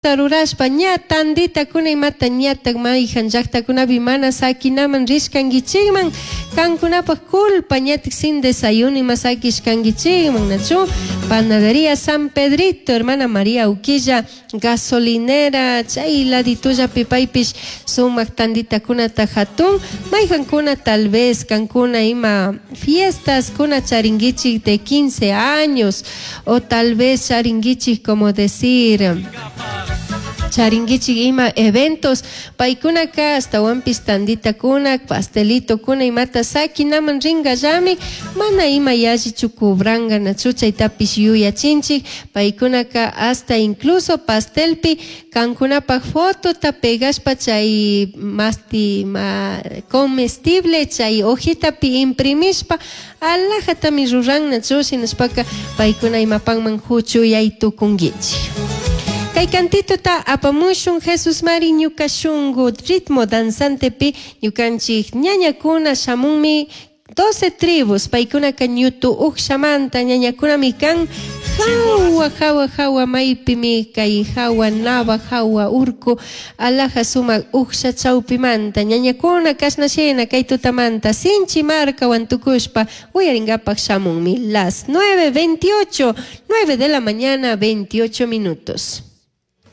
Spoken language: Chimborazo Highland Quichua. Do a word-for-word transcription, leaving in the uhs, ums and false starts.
Rurashpa ña tanditakuna imata ñatak mayjan llaktakunapi mana sakinaman rishkankichikman kankunapak culpa ñatik sin desayuno ima sakishkankichikman nachu panadería San Pedrito hermana María Uquilla gasolinera chay laditullapi paypish sumak tanditakunata hatun mayjankuna tal vez kankuna ima fiestas kuna charinkichik de quince años o tal vez charinkichik como decir charinkichik ima eventos paykunaka ashtawanpish tanditakuna pastelitokuna imata sakinaman rinkallami mana ima yallichu cobranka nachu chaytapish yuyachinchik paykunaka hasta incluso pastelpi kankunapak fotota pegashpa chay masti ma comestible chay hojitapi imprimishpa alajatami ruran nachu shinashpaka paykuna imapanman huchuyay tukunkichik. Kay cantitota apamushun Jesus Mari ñuka shungu ritmo danzantepi ñukanchik ñañakuna shamunmi doce tribus paykunaka ñutu ukshamanta ñañakunami kan hawa hawa hawa maypimi kay hawa nava hawa urku alaja sumak uksha chawpimanta ñañakuna kashna shina kay tutamanta sinchi markawan tukushpa uyarinkapak shamunmi las nueve veintiocho, nueve de la mañana veintiocho minutos.